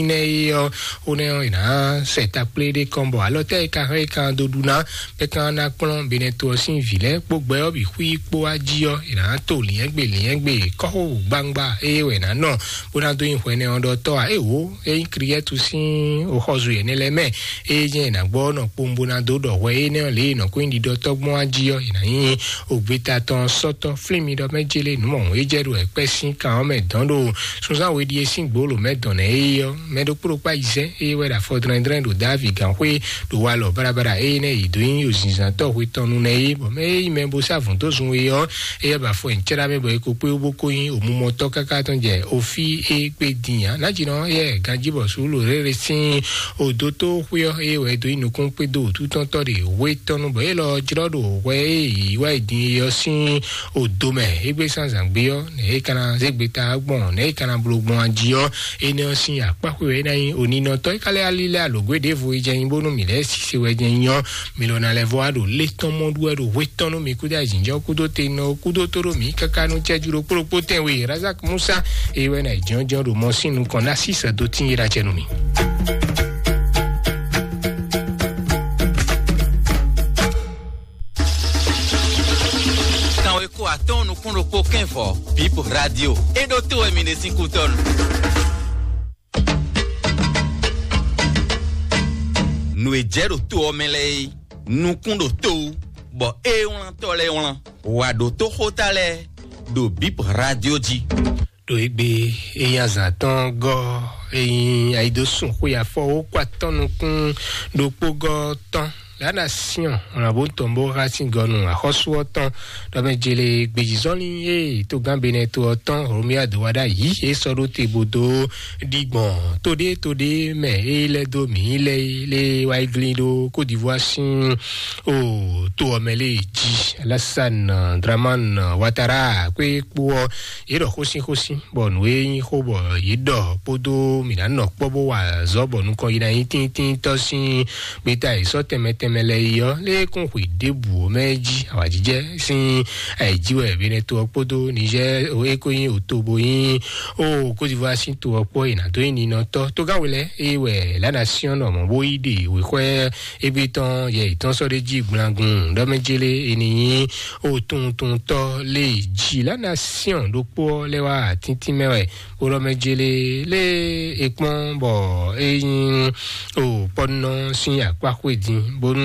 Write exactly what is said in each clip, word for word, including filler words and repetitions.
Nɛ e ɔ, wo nɛ ɔ, ina sɛ takplé ɖé kɔn bɔ alɔ tɛ e ka hɛn e ka do ɖu ná bɛ kan ná kplɔn benɛ to ɔ sín vǐ lɛ́ɛ kpó gbɛ ɔ́ bǐ xwí kpó wá jí ɔ́, ina to lǐɛ́ngbè lǐɛ́ngbè kɔ́xo gbangba eye wɛ ná nɔ bó ná dó nyi hwɛ nɛ ɔ́ ɖɔ tɔ́ a é wǒ é nyí Kliyɛ́tu sín oxɔzu yɛ̌nɛ lɛ́ɛ mɛ eye jɛ́n è nǎ gbɔ ɔ́ nɔ kpowun bó ná dó ɖɔ hwɛ énɛ́ ɔ́ lě e nɔ kó nyí ɖiɖɔtɔ́ gbɔn á jí ɔ́, è nǎ nyí ògbeta tɔn sɔ́tɔ́ flín mi ɖɔ mɛ jélé nǔ mɔ̌hun é jɛ ɖo ɛkpɛ́ sín kan ɔ́ mɛ dɔn ɖo sunzán we ɖíe sín gbǒ lǒ mɛ dɔn nɛ́ é ɔ́, mɛ ɖokpó ɖokpó ayizɛ́n eye wɛ ɖo afɔ dlɛ́ndlɛ́n ɖo Davi gǎnxwé ɖo walɔ baɖabaɖa eye nɛ́ yě dó nyí ozinzantɔ́ hwe tɔn nu nɛ́ é, bɔ mɛ e nyí mɛ bo sá vǔn dó zun é ɔ́, éyɛ́ ba afɔ nyi cɛ́ɖá mɛ bɔ é ko kpé bó ko nyí omumɔtɔ́ káká tɔn jɛ ofí é kpé din ǎ. Nájínɔ yɛ ganjí bɔ Suúlu rére sín odótó xwé ɔ́, eye wɛ é dó nyí nukúnkpédó wǔtútɔ́tɔ́ ɖe wé tɔn nu bɔ é lɔ jlɔ́ ɖo hwɛ e yǐ wá yi din é ɔ́ sín odo mɛ. Égbé sán zǎngbé ɔ́, nɛ̌ é ka ná zé gbeta gbɔn, nɛ̌ é ka ná bló gbɔn ají ɔ́, énɛ́ ɔ́ sín akpáxwe wɛ é ná nyí oninɔtɔ́. É ka lɛ́ alí lɛ́ alǒgwé ɖěvo é jɛ nyí bónú mǐ lɛ́ɛ sise wɛ jɛ nyí ɔ́, mi lɔ ná lɛ́ vɔ wá ɖo lé tɔn mɔ ɖu wɛ ɖo hwe tɔn nú mi kúdó ayǐjínjɔ́n kúdó te nɔ kúdó tó ɖó mǐ káká nú cɛ́jú ɖokpó ɖokpó tɛnwe Razak Musa, eye wɛ ná yi jɔ́njɔ́n ɖo mɔ sín nukɔn ná sísɛ dó tín yé ɖa cɛ nú mì. Kanweko atɔ́ɔ́n nukún ɖokpó kɛ́n vɔ̌, Bip Radio. É ɖótó wɛ mi ɖe sín kútɔ́nu. Nǔ e jɛ ɖo to ɔ́ mɛ lɛ́ɛ é, nukún ɖo to wú, bɔ é wlántɔ́ lɛ́ɛ wlán. Wǎ ɖótó xóta lɛ́ɛ ɖo Bip Radio jí. Ɖo égbé é nyí azǎn tɔn gɔ́, é nyí ayidosùn xwe afɔ wó kó atɔ́ nukún ɖokpó gɔ́ tɔn. Lǎna Siɔn, wlǎnbó tɔn bó xá sín gɔnu axɔ́sú ɔ́ tɔn, ɖɔ mɛ jele gbejizɔ́nlin e togán Benɛto ɔ́ tɔn Romia dó wá ɖ'ayǐ é sɔ́ ɖó te bó dó ɖi gbɔn toɖé toɖé mɛ é lɛ́ dó mǐ lɛ́ lé wá yi glín ɖó Côte d'Ivoire sín o to ɔ́ mɛ lé jí. Alassane Dramane Ouattara kpé kpó ɔ́, yě ɖɔ xósínxósín bɔ nǔ e nyí xó bɔ yě ɖɔ kpódó mǐ ná nɔ kpɔ́ bó wa azɔ̌ bɔ nukɔn yi ná nyí tíntíntɔ́ sín gbeta e sɔ́ tɛnmɛ tɛnmɛ lɛ́ɛ yi ɔ́, lé kún xwe ɖěbǔ ɔ́ mɛ jí awǎjijɛ sín ayǐjí wɛ Benɛto ɔ́ kpódó Niger e ko nyí oto bo nyí o Côte d'Ivoire sín to ɔ́ kpó e nǎ dó nyí ninɔtɔ́. Tógáwe lɛ́ɛ e wɛ Lánà Siɔ́n nɔ mɔ̌ bó yí ɖe wěxwɛ́ égbé tɔn yɛ yětɔn sɔ́ ɖ'é jí gblangun ɖɔ mɛ jélé e ní nyí o tuntuntɔ́ lé jí Lánà Siɔ́n ɖokpó ɔ́ lɛ́ wá tíntín mɛ wɛ. Bó ɖɔ mɛ jélé lé e kpɔ́n bɔ é nyí o kpɔ́nɔ sín akpá xwé din bónú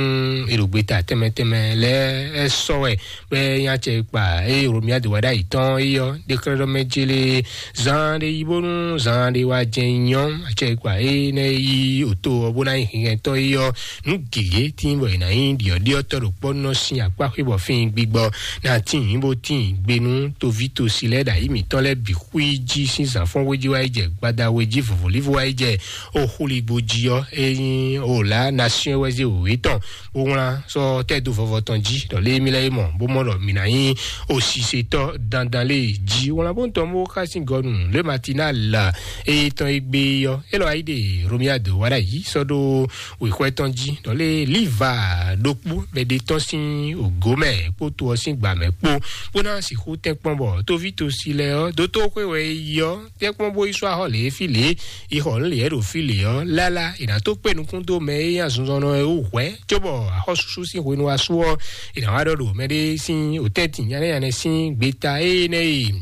è ɖo gbeta tɛnmɛ tɛnmɛ lɛ́ɛ ɛ sɔ́ wɛ bɔ é nyí acɛ kpa eye Romia dó wá ɖ'ayǐ tɔn é ɔ́ ɖe xlɛ́ ɖɔ mɛ jélé zan ɖé yi bónú zan ɖé wá jɛ nyɔ́ acɛ kpa é nɛ́ yí oto ɔ́ bó ná nyí hɛngɛntɔ́ é ɔ́ nǔ gěgé tín bɔ è nǎ nyí ɖiɔ̌ɖiɔ́tɔ́ ɖo kpɔ́nɔ sín akpá xwé bɔ fín gbigbɔ ná tín bó tín gbe nú toví tosi lɛ́ɛ ɖo ayǐ mǐtɔn lɛ́ɛ bǐ xwí jí sín zǎnfɔ́n wé jí wá yi jɛ gbada wé jí vɔ̌vɔ́lífɔ wá yi jɛ o xúligbo jí ɔ́, é nyí o lǎ nasiɔn wɛ zé wěwé tɔn bó wlán sɔ́ tɛ́ dó vɔvɔ tɔn jí ɖɔ lé mí lɛ́ɛ é mɔ bó mɔ ɖɔ mǐ ná nyí o sisetɔ́ dandan lé jí wlán bó tɔn bó xá sín gɔnu lé Matinal eye tɔn e gbé ɔ́, é lɔ wá yi ɖe Romiado wá ɖ'ayǐ sɔ́ ɖó wěxwɛ́ tɔn jí ɖɔ lé Liva ɖokpó mɛ ɖé tɔn sín ògó mɛ kpó to ɔ́ sín gbǎ mɛ kpó bó ná sixú tɛ́nkpɔ́n bɔ toví tosi lɛ́ɛ ɔ́ dótó xwé wɛ é yi ɔ́ tɛ́nkpɔ́n bó yi sɔ́ axɔ́ lě fí lě yi xɔ nǔ lě ɖo fí lě ɔ́ lála è nǎ tó kpé nukún dó mɛ e nyí azinzɔnnɔ e wú hwɛ̌ cóbɔ axɔ́súsú sín hwenu wá sú ɔ́ è nǎ wá ɖɔ ɖo mɛɖé sín òtɛ́ntin nyanɛ́nyanɛ sín gbeta énɛ́ e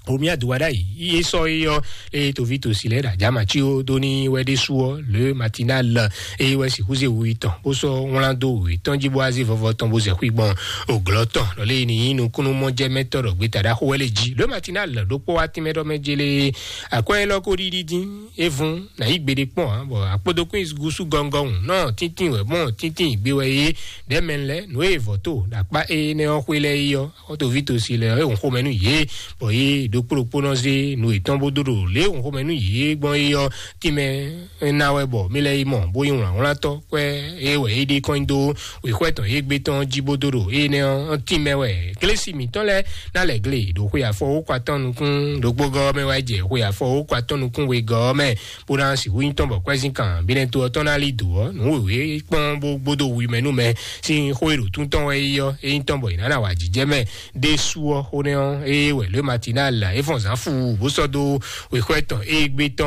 Romia do wá ɖ'ayǐ yí é sɔ́ é ɔ́ eye toví tosi lɛ́ɛ ɖo ajǎmací ó dó ní wɛ ɖésú ɔ́ le Matinal eye wɛ sixú zé wu tɔn bó sɔ́ wlán dó wětɔn jí bó wá zé vɔvɔ tɔn bó zɛ xwí gbɔn òglɔ́ tɔn ɖɔ lé ní nyí nukúnnú mɔjɛmɛtɔ́ ɖɔ gbeta ɖaxó wɛ lé jí le Matinal ɖokpó wá tínmɛ ɖɔ mɛ jélé akwɛ́ élɔ́ kó ɖiɖi dín é vún nǎ yí gbeɖé kpɔ́n ǎ bɔ akpódókún gúsú gɔngɔn nɔ tíntín wɛ mɔ tíntín gbé wɛ é ɖɛ̌ mɛ lɛ́ɛ nǔ e vɔ̌ to ɖo akpá énɛ́ ɔ́ xwé lɛ́ɛ é ɔ́ xɔ́tɔ́ví tosi lɛ́ɛ é hun xomɛ nú yě bɔ yě ɖokpó ɖokpó nɔ zé nǔ yětɔn bó dó ɖo lě e hun xomɛ nú yě gbɔn é ɔ́ tínmɛ ná wɛ bɔ mí lɛ́ yi mɔ bó nyí wlǎnwlántɔ́ kwɛ́ é wɛ é ɖe kɔn nyi dó wěxwɛ́ tɔn yě gbé tɔn jí bó dó ɖo énɛ́ ɔ́ tínmɛ wɛ. Glesi mǐtɔn lɛ́ɛ ná lɛ̌ gle ɖo xwe afɔ wó kɔ atɔ́ nukún ɖokpó gɔ́ mɛ wá jɛ xwe afɔ wó kɔ atɔ́ nukún wegɔ́ mɛ bó ná sixú nyí tɔn bɔ kwɛ́zínkan bínɛ́ to ɔ́ tɔn ná lí dǒ ɔ́ nǔ wěwé kpɔ́n bó gbódó wi mɛ nú mɛ sín xó e ɖo tún tɔn wɛ é ɔ́ é nyí tɔn bɔ è nǎ ná wa jǐjɛ mɛ ɖésú ɔ́ xó nɛ́ ɔ́ ée wɛ lě Matinal é fɔn zǎn fu bó sɔ́ dó wěxwɛ́ tɔn égbé tɔn